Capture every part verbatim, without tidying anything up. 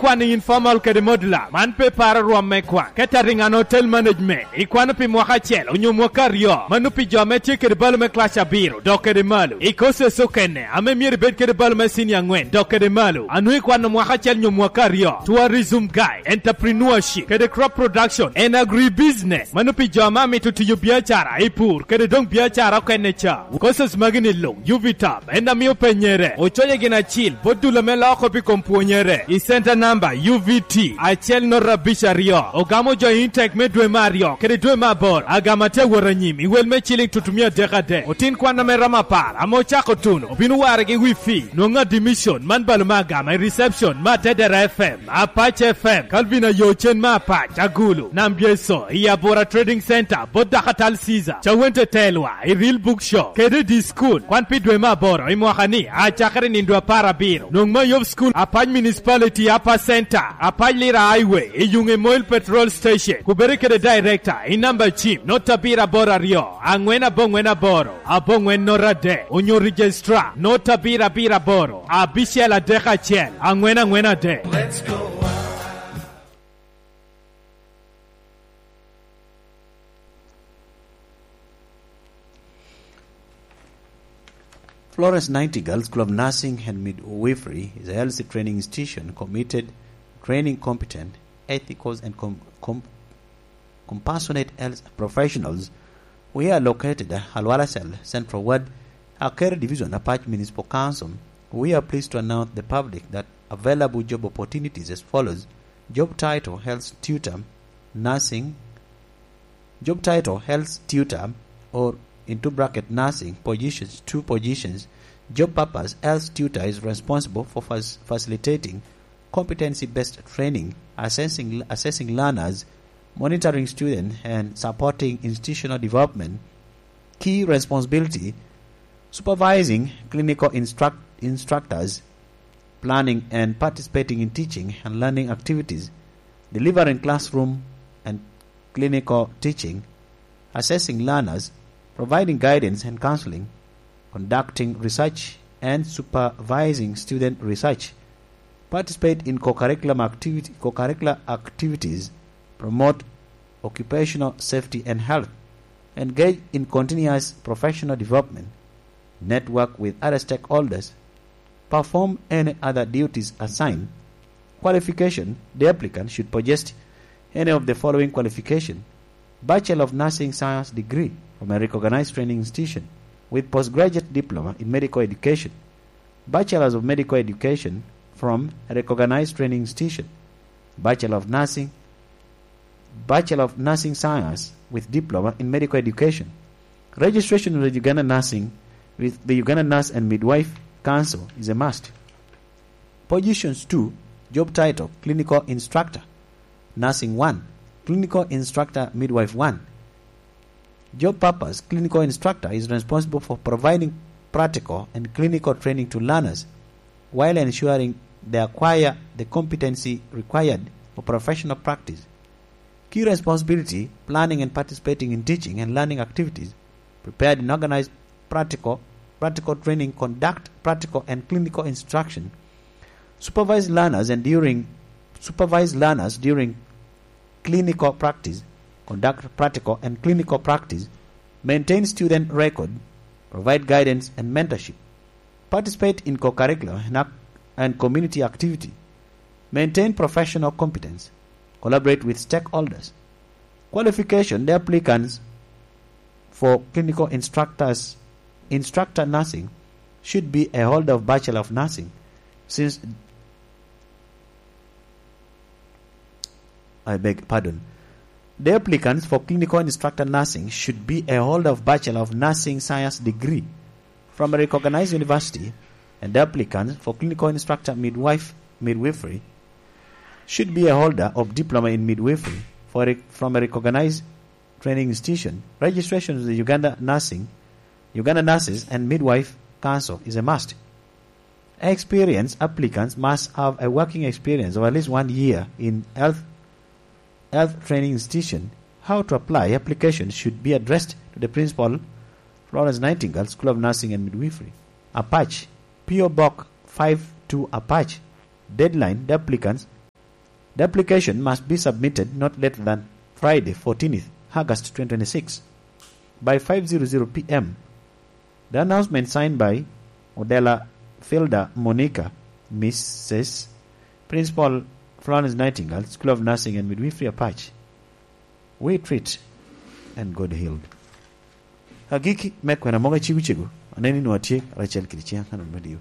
Kwano informal kede modular, man pe paro rwom me kwan. Catering and Hotel Management, ikwano pi mwaka acel onyo mwaka aryo, mano pi jo ame tye kede balo me class abiro dok kede malo. I courses okene ame myero ibed kede balo me senior angwen dok kede malo, a nwoŋo ikwano mwaka acel nyo mwaka aryo. Tourism Guide, Entrepreneurship, kede Crop Production and Agribusiness, mano pi jo ame amito tiyo biacara i pur kede doŋ biacara okene ca. Courses magi ni luŋ, UVTAB en amio penyere, ocoye gin acil bot dul ame loko pi kom pwonyere. I center number UVT acel nota abic aryo, ogamo jo i intake me dwe me aryo kede dwe me aboro. Agama tye awot anyim i wel me ciling tutumia adek adek. Otin kwan ame romo apar ame ocako tuno obino warre gi wi fee. Nwoŋo admission man balo me agama i reception me Atedera F M, Apac F M, Calvin Ayo Cen me Apac, Agulu, Nam Byeso, i Abura Trading Center, bot Dakatal Caesar, Cawente Telwa, i Real Book Shop, kede i School. Kwan pi dwe me aboro i mwaka ni, acakere nindo apar abiro. Nwoŋ me Ayob School, Apac Municipality, Upper Center, Apac Lira Highway, i yuŋ Emoil Petrol Station. Kubere kede director, i namba cim, nota abiro aboro aryo, angwen aboŋwen aboro, aboŋwen nota adek, onyo registrar, nota abiro abiro aboro, abicel adek acel, angwen angwen adek. Florence Nightingale School of Nursing and Midwifery is a health training institution committed to training competent, ethical, and com-, com-, compassionate health professionals. We are located at Alwala Cell, Central Ward, Akere Division, Apac Municipal Council. We are pleased to announce the public that available job opportunities as follows. Job title, Health Tutor, Nursing. Job title, Health Tutor, or into bracket, Nursing, positions, two positions. Job purpose, Health Tutor is responsible for fac-, facilitating competency-based training, assessing, assessing learners, monitoring students, and supporting institutional development. Key responsibility, supervising clinical instruct-, instructors, planning and participating in teaching and learning activities, delivering classroom and clinical teaching, assessing learners, providing guidance and counseling, conducting research and supervising student research, participate in co-curriculum activity, co-curricular activities, promote occupational safety and health, engage in continuous professional development, network with other stakeholders, perform any other duties assigned. Qualification, the applicant should possess any of the following qualification: Bachelor of Nursing Science degree from a recognized training institution with postgraduate diploma in medical education, Bachelors of Medical Education from a recognized training institution, Bachelor of Nursing, Bachelor of Nursing Science with diploma in medical education. Registration of the Uganda Nursing with the Uganda Nurse and Midwife Council is a must. Positions two, job title, Clinical Instructor, Nursing one, Clinical Instructor, Midwife one. Job purpose, clinical instructor is responsible for providing practical and clinical training to learners while ensuring they acquire the competency required for professional practice. Key responsibility, planning and participating in teaching and learning activities, prepared and organized practical, practical training, conduct practical and clinical instruction, supervise learners and during, supervise learners during clinical practice, conduct practical and clinical practice, maintain student record, provide guidance and mentorship, participate in co-curricular and ac-, and community activity, maintain professional competence, collaborate with stakeholders. Qualification, the applicants for clinical instructors, instructor nursing should be a holder of Bachelor of Nursing since I beg pardon. The applicants for clinical instructor nursing should be a holder of Bachelor of Nursing Science degree from a recognized university, and the applicants for clinical instructor midwife, midwifery should be a holder of diploma in midwifery for a, from a recognized training institution. Registration with the Uganda Nursing, Uganda Nurses and Midwife Council is a must. Experienced applicants must have a working experience of at least one year in health, health training institution. How to apply? Application should be addressed to the principal, Florence Nightingale School of Nursing and Midwifery, Apac, P O Box five two, Apac. Deadline, the applicants The application must be submitted not later than Friday, fourteenth August twenty twenty-six, by five zero zero p.m. The announcement signed by Odela Filda Monica, Missus Principal, Florence Nightingale, School of Nursing and Midwifery, Apac. We treat and God healed. Agikki me kwena mogo acego cego, aneno ni nwa tye Rachel kede Ciang Canon Radio.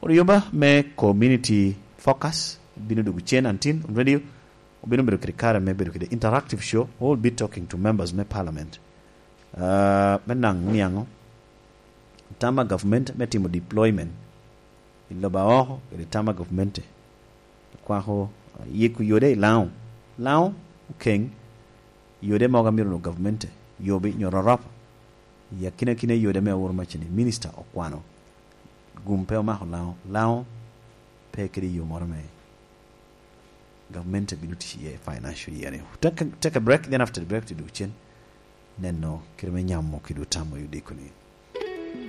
Kodi yomba me Community Focus bino dwogo cen until Radio obino bedo kede kare me bedo kede interactive show. We'll be talking to members me parliament, uh, me naŋ niaŋo tam a government me timo deployment i lobo aoko kede tam a government kwako, uh, yiko yode i Laŋo. Laŋo okeŋ yode mogo amito no government yobi nyo rorop. I akinakina yode me aworo macini, minister okwano. Gum pe omako Laŋo. Laŋo pe kede yo moro me government bino tic iye financial year ni. Take, take a break, then after the break to do cen. Neno kede me nyamo kede otamo i odiko ni.